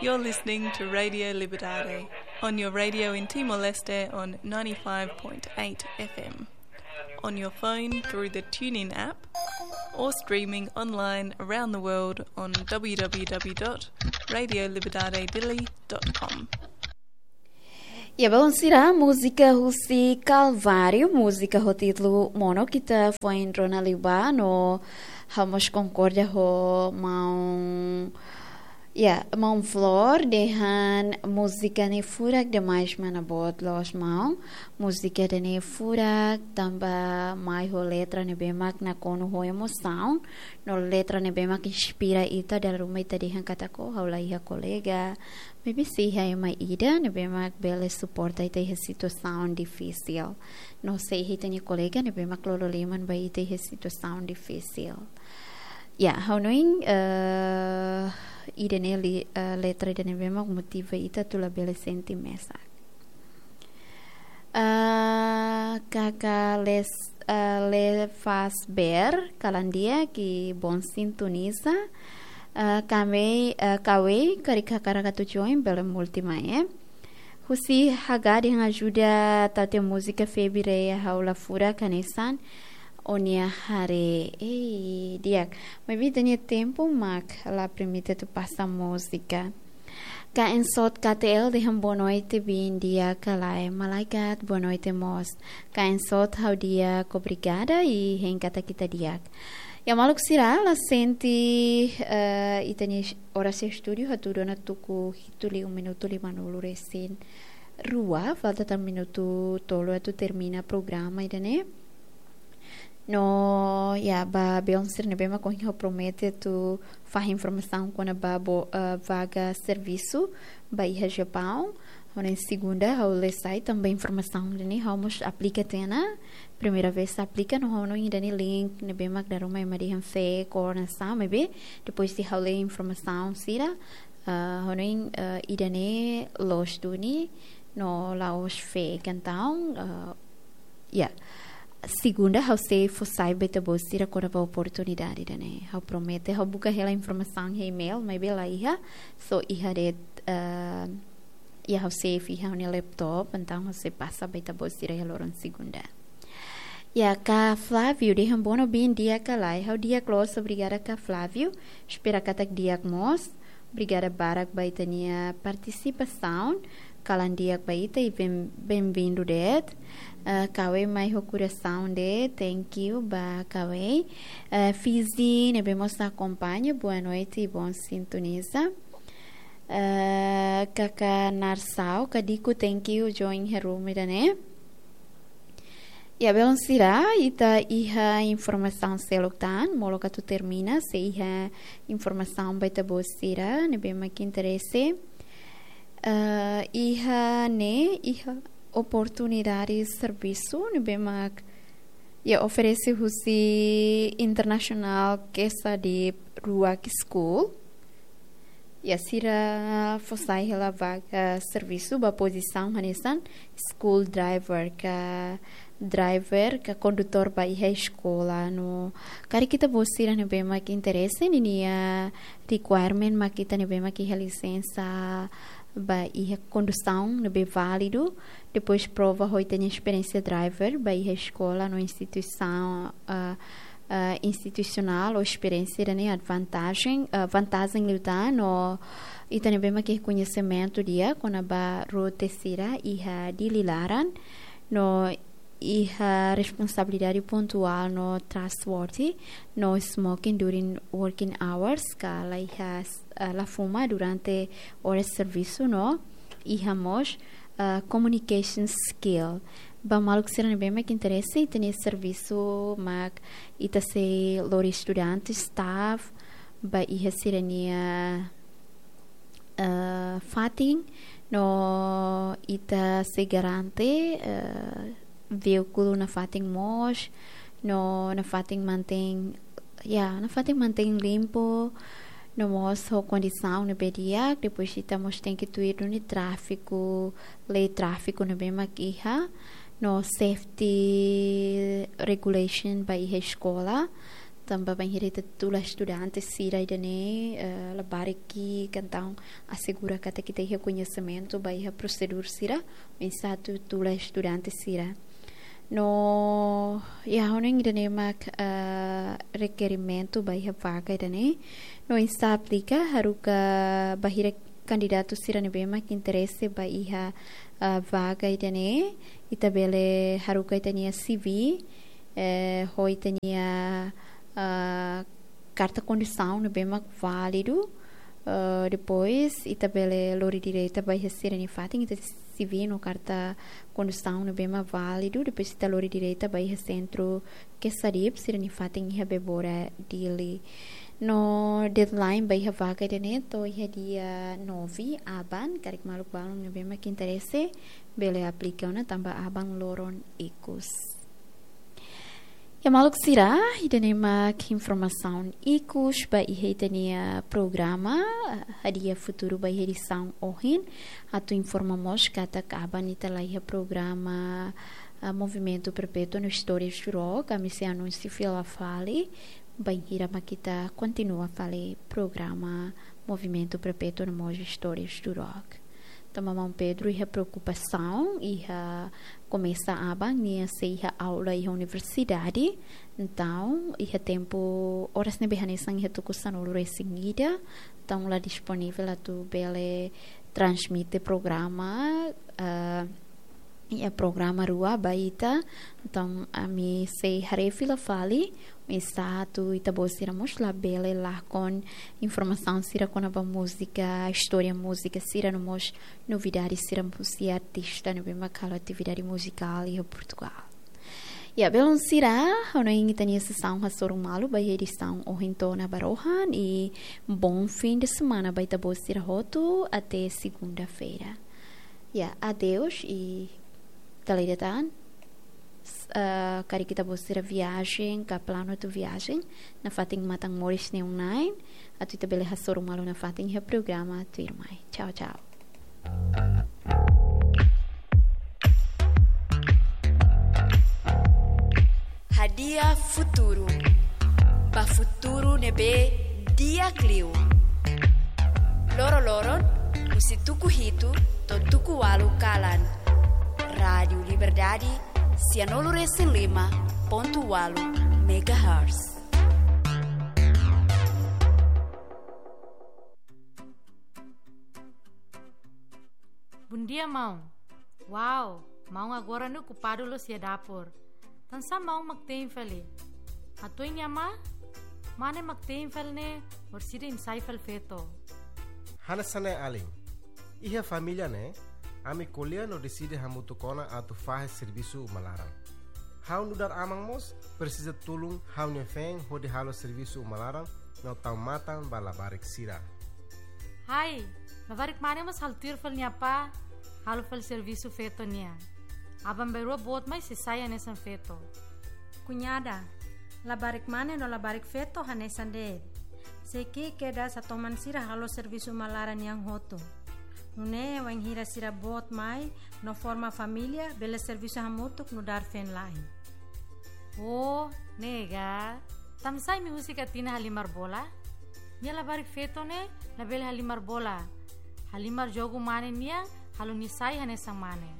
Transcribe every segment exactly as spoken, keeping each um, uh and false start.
You're listening to Radio Liberdade on your radio in Timor-Leste on ninety-five point eight F M, on your phone through the TuneIn app, or streaming online around the world on w w w dot radio liberdade dili dot com. Ya, belun sira, múzika husi Kalváriu, múzika ho títulu Mono, ita foin rona liubá no ha'u mós konkorda ho maun, ya, maun Flor dehan múzika ne'e furak demais, mana boot loos maun. Múzika ida-ne'e furak, tanba mai ho letra ne'ebé mak nakonu ho emosaun, no letra ne'ebé mak inspira ita, dala ruma ita dehan katak ha'u la iha kolega, maibé sei iha ema ida ne'ebé mak bele suporta ita iha situasaun difisil. No sei iha ita-nia kolega ne'ebé mak lolo liman ba ita iha situasaun difisil. Ya, ha'u hanoin, eh, ida-ne'e li-, eh, letra ida ne'ebé mak motiva ita atu labele sente mesak. Eh, kaka Les, eh, Lefasber, kalan di'ak, i bom sintoniza. Eh, kami, eh, Kawei, karik hakarak atu join, bele multi mai, eh. Husi Haga dehan ajuda tau tiha múzika Febi Rea, ha'u la furak hanesan ó-nia haree. Ei, di'ak. Maibé ita-nia tempu mak la permite atu pasa múzika. Ka Ensot K T L dehan boa noite, biin di'ak ka lae? Malaikat, boa noite mós. Ka Ensot, ha'u di'ak, obrigada, i hein katak ita di'ak. Ya, maluk sira, la sente, eh, ita-nia oras iha estúdiu hatudu ona tuku hitu liu minutu limanulu resin rua, falta tan minutu tolu atu termina programa ida-ne'e. No, ya, ba belun sira ne'ebé mak ohin ha'u promete atu fahe informasaun kona-ba bo-, eh, vaga servisu ba iha Japaun. Ha'u hanoin segunda ha'u la sai, tanba informasaun ida-ne'e ha'u mós aplika tiha ona. Primeira vez aplika, no ha'u hanoin ida-ne'e link ne'ebé mak dala ruma ema dehan fake or hanesan, maibé depois de ha'u lee informasaun sira, eh, ha'u hanoin, eh, ida-ne'e loos duni, no la'ós fake, entaun, eh, ya. Segunda ha'u sei fó sai ba ita-boot sira kona-ba oportunidade ida-ne'e. Ha'u promete, ha'u buka hela informasaun iha email, maibé la iha, só iha de'it, eh, ya, ha'u save iha ha'u-nia laptop, entaun ha'u sei pasa ba ita-boot sira iha loron segunda. Ya, ka Flávio dehan bono, biin di'ak ka lae? Ha'u di'ak loos, obrigada ka Flávio. Espera katak di'ak mós. Obrigada barak ba ita-nia partisipasaun. Kalan di'ak ba ita i ben-, benvindu de'it. Eh, Kawei mai ho korasaun de'it, thank you ba Kawei. Eh, Fizi ne'ebé mós akompaña, boa noite i bom sintoniza. Eh, kaka Narsau, ka Diku, thank you join iha room ida-ne'e. Ya, belun sira, ita iha informasaun seluk tan, molok atu termina, sei iha informasaun ba ita-boot sira ne'ebé mak interese. Eh, iha ne'e, iha oportunidade servisu ne'ebé mak, ya, oferese husi International Quesadhip Ruak School. Ya, sira fó sai hela vaga servisu ba pozisaun hanesan school driver ka driver ka kondutór ba iha eskola no. Karik ita-boot sira ne'ebé mak interese, ninia requirement mak ita ne'ebé mak iha lisensa ba iha kondusaun ne'ebé válidu, depois prova ho ita-nia esperiénsia driver ba iha eskola no instituisaun, ah, ah, institusionál ou esperiénsia ida-ne'e vantajen, ah, vantajen liután no ita ne'ebé mak iha koñesimentu di'ak kona-ba rute sira iha Dili laran no iha responsabilidade pontuál no trustworthy, no smoking during working hours, ka la iha, ah, la fuma durante oras servisu no iha mós, ah, communication skill. Ba maluk sira ne'ebé mak interese, ita-nia servisu mak ita sei lori estudante, staff, ba iha sira-nia, eh, fatin, no ita sei garante, eh, veíkulu nafatin mós, no nafatin mantein, ya, nafatin mantein limpu, no mós ho kondisaun ne'ebé di'ak, depois ita mós tenke tuir duni tráfiku, lei tráfiku ne'ebé mak iha, no safety regulation ba iha eskola. Tanba bainhira ita tula estudante sira ida-ne'e, eh, labarik ki'ik, entaun asegura katak ita iha koñesimentu ba iha prosedura sira oinsá atu tula estudante sira. No, iha ha'u hanoin ida-ne'e mak, eh, rekerimentu ba iha vaga ida-ne'e. No oinsá aplika, haruka bainhira kandidatu sira ne'ebé mak interese ba iha, eh, vaga ida-ne'e, ita bele haruka ita-nia C V, eh, ho ita-nia, ah, karta kondusaun ne'ebé mak válidu. Ah, depois, ita bele lori direta ba iha sira-nia fatin, ita-nia C V no karta kondusaun ne'ebé mak válidu. Depois, ita lori direta ba iha sentru Quesadhip, sira-nia fatin iha Bebora, Dili. No deadline ba iha vaga ida-ne'e to'o iha dia nove aban, karik maluk balun ne'ebé mak interese, bele aplika ona tanba aban loron ikus. Ya maluk sira, ida-ne'e mak informasaun ikus ba iha ita-nia programa, Hadi'a Futuru ba iha edisaun ohin. Atu informa mós katak aban ita la iha programa, ah, Movimentu Perpétuo no Istórias do Rock, ami sei anunsia fila fali, bainhira mak ita kontinua fali programa Movimentu Perpétuo no mós Istórias do Rock. Tanba maun Pedro iha preokupasaun, iha komesa aban nia sei iha aula iha universidade. Entaun, iha tempu oras ne'ebé hanesan iha tuku sanulu-resin-ida. Entaun, la disponivel atu bele transmite programa, ah, iha programa rua ba ita. Entaun, ami sei haree fila fali, oinsá atu ita-boot sira mós labele lakon informasaun sira kona-ba múzika, istória múzika sira no mós novidade sira husi artista ne'ebé mak halo atividade muzikál iha Portugal. Ya, belun sira, ha'u hanoin ita-nia sesaun hasoru malu ba iha edisaun ohin to'o ona ba rohan, i bom fim de semana ba ita-boot sira hotu, até segunda-feira. Ya, adeus i dala ida tan. S-, eh, karik ita-boot sira viajen, ka planu atu viajen, nafatin matan moris neon nine, atu ita bele hasoru malu nafatin iha programa tuirmai. Tchau, tchau. Hadi'a Futuru. Ba futuru ne'ebé di'ak liu. Loroloron, husi tuku hitu to'o tuku ualu kalan. Rádiu Liberdade, sianulu-resin-lima pontu ualu megahertz. Bondia, maun. Uau, maun agora ne'e okupadu loos iha dapur. Tansá maun mak te'in fali? Hato'o iha mane? Mane mak te'in fali ne'e, orsida ensai fali feto. Hanesan ne'e alin. Iha família ne'e, ami ko'alia no deside hamutuk ona atu fahe servisu uma laran. Ha'u nu'udar aman mós presiza tulun ha'u-nia feen hodi halo servisu uma laran no tau matan ba labarik sira. Hai, labarik mane mós halo tuir fali nia apá, halo fali servisu feto nian. Aban-bainrua boot mai sei sai hanesan feto. Kuñada, labarik mane no labarik feto hanesan de'it. Sei ki'ik kedas hatoman sira halo servisu uma laran nian hotu. Nune'e wainhira sira boot mai no forma família, bele servisu hamutuk nu'udar feen-la'en. Oh, ne'e ga. Tansá imi husik Atina halimar bola? Nia labarik feto ne'e labele halimar bola. Halimar jogu mane nian, halo nia sai hanesan mane.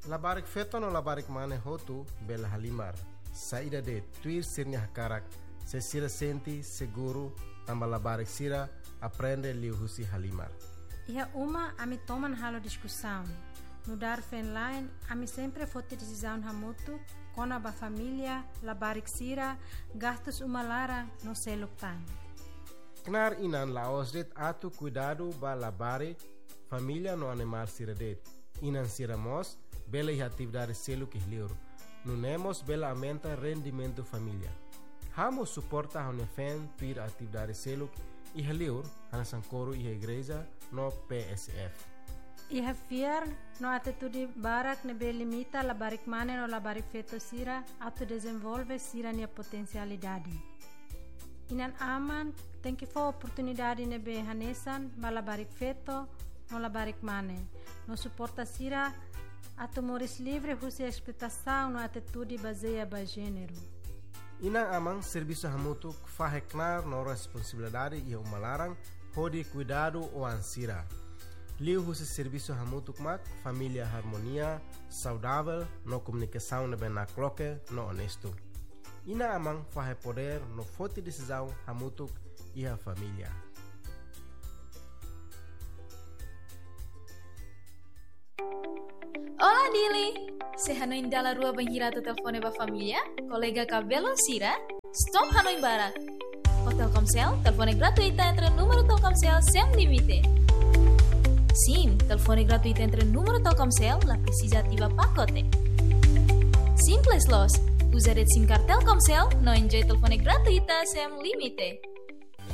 Labarik feto no labarik mane hotu bele halimar. Saida de'it, tuir sira-nia hakarak, se sira sente seguru, tanba labarik sira aprende liuhusi halimar. Iha uma ami toman halo diskusaun. Nu'udar feen-la'en, ami sempre foti desizaun hamutuk kona-ba família, labarik sira, gastus uma laran no seluk tan. Knaar inan la'ós de'it atu kuidadu ba labarik, família no animál sira de'it. Inan sira mós bele iha atividade seluk iha li'ur. Nune'e mós bele aumenta rendimentu família. Ha'u mós suporta ha'u-nia feen tuir atividade seluk iha li'ur, hanesan koru iha igreja no P S F. Iha fiar no atitude barak ne'ebé limita labarik mane no labarik feto sira atu dezenvolve sira-nia potensialidade. Inan-aman tenke fó oportunidade ne'ebé hanesan ba labarik feto no labarik mane, no suporta sira atu moris livre husi espletasaun no atitude bazeia ba jéneru. Inan-aman servisu hamutuk fahe knaar no responsabilidade iha uma laran hodi kuidadu oan sira. Liuhusi servisu hamutuk mak família harmonia, saudavel no komunikasaun ne'ebé nakloke no onestu. Inan-aman fahe podér no foti desizaun hamutuk iha família. Olá, Dili! Sé hanoin dala rua bainhira atu telefone ba família, kolega ka belun sira? Stop hanoin barak! Ho Telkomsel, telefone gratuita entre númeru Telkomsel sem limite. Sin, telefone gratuita entre númeru Telkomsel la presiza ativa pakote. Simples loos, uza de'it SIM card Telkomsel no enjoy telefone gratuita sem limite.